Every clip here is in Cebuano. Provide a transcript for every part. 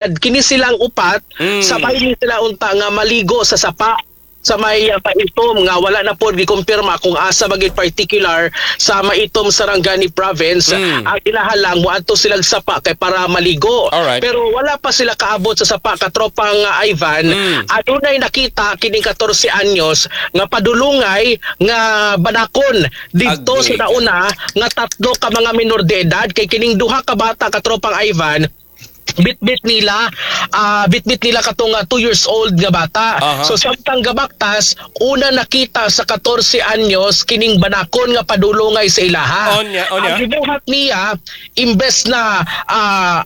Kini silang upat, sabay ni sila unta nga maligo sa sapa sa may Maitum nga wala na po gikumpirma kung asa ba gyud particular sa Maitum, Sarangani Province. Ang inahalang moadto silang sapa kay para maligo. Pero wala pa sila kaabot sa sapa, katropang Ivan, adunay nakita kining 14 anyos nga padulungay nga banakon didto sa nauna nga tatlo ka mga minor de edad, kay kining duha ka bata, katropang Ivan, bitbit nila katong 2 years old nga bata. So samtang gabaktas, una nakita sa 14 anyos kining banakon nga padulungay sa ilaha. Onya, onya. Ang gibuhat niya, imbes na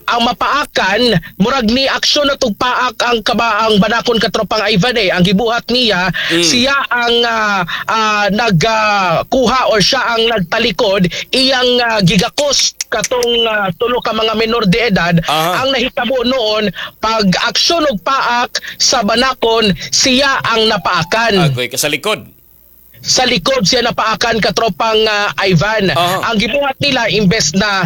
ang mapaakan, murag ni aksyon na tugpaak ang kabaang banakon, katropang Ivan eh. Ang gibuhat niya, siya ang nagkuha or siya ang nagtalikod, iyang gigakos katong tulo ka mga menor de edad. Ang nahitabo noon, pag aksyon og paak sa banakon, siya ang napaakan. Agoy ka sa likod. Sa likod siya napaakan, katropang Ivan. Ang gibuhat nila, imbes na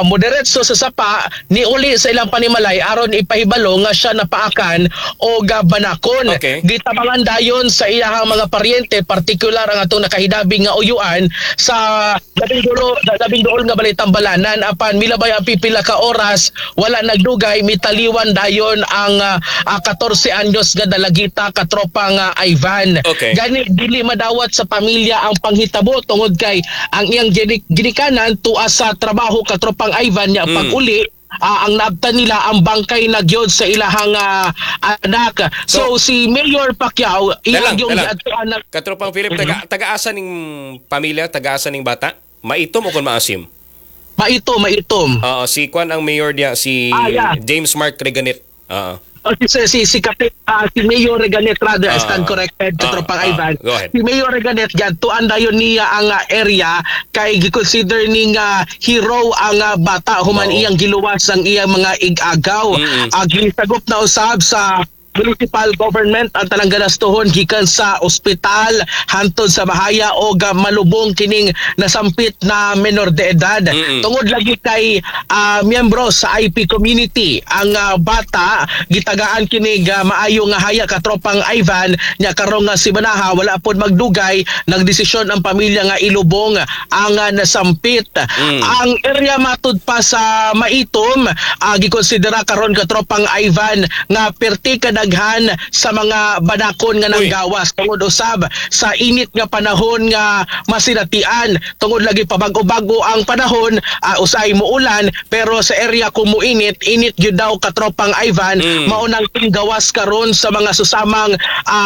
moderetso sa sapa, niuli sa ilang panimalay aron ipahibalo nga siya napaakan og banakon. Gitabangan dayon sa iyahang mga paryente, partikular ang atong nakahidabi nga uyuan sa labing duol nga balay Tambalanan, apan milabay ang pipila ka oras, wala nagdugay, mitaliwan dayon ang 14 anyos nga dalagita, katropang Ivan. Gani dili madawat sa pamilya ang panghitabo tungod kay ang iyang ginikanan tuwa sa trabaho, katropang Ivan, niya pag-uli, ang naabtan nila ang bangkay na gyud sa ilahang anak. So, si Mayor Pacquiao iyang Dalang, yung dalang. giadtuan na Katropang Philip, taga-asa ning pamilya, taga-asa ning bata? Maitom o kung maasim? Maitom, maitom. Oo, si Kwan ang mayor niya, si James Mark Reganet. Oo. Oh, si Mayor Reganet rather, I stand corrected, katropang Ivan. Go ahead. Si Mayor Reganet, tuan dayon niya ang area kay gi-consider ni nga hero ang bata human iyang giluwas ang iyang mga ig-agaw. Gisagop na usab sa municipal government ang tanang ganastuhon gikan sa ospital hantod sa bahaya o malubong kining nasampit na menor de edad. Tungod lagi kay miyembro sa IP community ang bata, gitagaan kini maayo nga haya, katropang Ivan. Nya karon nga simanaha, wala pod magdugay, nagdesisyon ang pamilya nga ilubong ang nasampit. Ang area matud pa sa Maitom, gikonsidera karon, katropang Ivan, nga perti kadaghan sa mga banakon nga Uy. nanggawas tungod usab sa init nga panahon nga masinatian. Tungod lagi pabago-bago ang panahon, usay muulan, pero sa area kung muinit, init gyud daw, katropang Ivan. Mao nang gawas karon sa mga susamang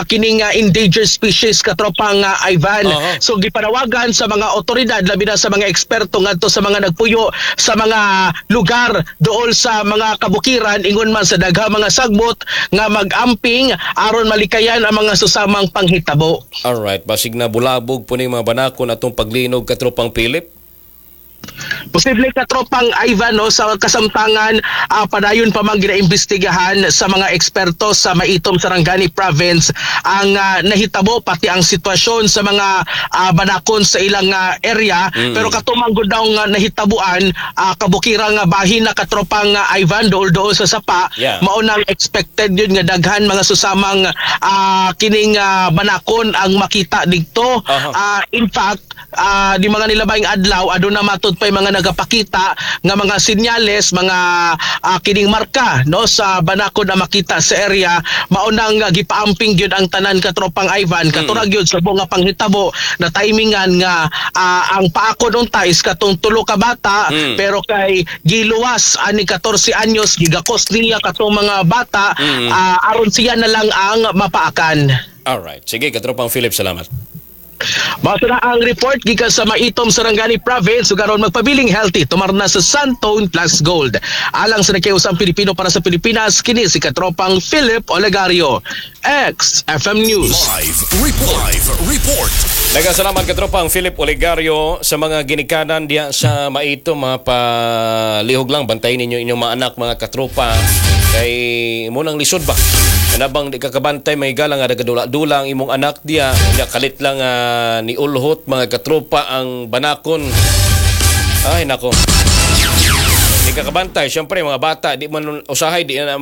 kining endangered species, katropang Ivan. So gipanawagan sa mga otoridad, labi na sa mga eksperto ngadto sa mga nagpuyo sa mga lugar dool sa mga kabukiran, ingon man sa daghang mga sagbot, nga mag-amping aron malikayan ang mga susamang panghitabo. Alright, basig na bulabog po ni mga banakon atong paglinog, katropang Philip. Posible, katropang Ivan, no, sa kasamtangan padayon pa man ginaimbestigahan sa mga eksperto sa Maitom, Sarangani Province ang nahitabo pati ang sitwasyon sa mga banakon sa ilang area. Pero katumang gud daw nga nahitabuan, kabukira nga bahin na, katropang Ivan, dool dool sa sapa. Mao nang expected yun nga daghan mga susamang kining banakon ang makita didto. In fact, di mga nilabayng adlaw aduna matud pa mga nagapakita nga mga sinyales, mga kining marka, no, sa banakon na makita sa area. Mao nang gipaamping gyud ang tanan, katropang Ivan, katurag gyud sa buong nga panghitabo na timingan nga ang paakon unta is katong tulo ka bata, pero kay giluwas ani 14 anyos, gigakos niya katong mga bata, aron siya na lang ang mapaakan. Alright. Sige, katropang Philip, salamat. Mao na ang report gikan sa Maitom, Sarangani Province, ug aron magpabiling healthy, tumarna sa Santone Plus Gold. Alang sa Nakiusang Pilipino para sa Pilipinas, kini si katropang Philip Olegario. XFM News. Live Report. Live Report. Daghang salamat, katropang Philip Olegario, sa mga ginikanan diya sa Maitom, mga palihog lang bantayin ninyo inyong mga anak, mga katropa, kay mo nang lisod ba kanabang di ka kabantay, may galang nga nagadula-dula ang imong anak diya nya kalit lang ni ulhot, mga katropa, ang banakon. Ay nako. Ikaw kakabantay. Siyempre, mga bata, di man usahay, di na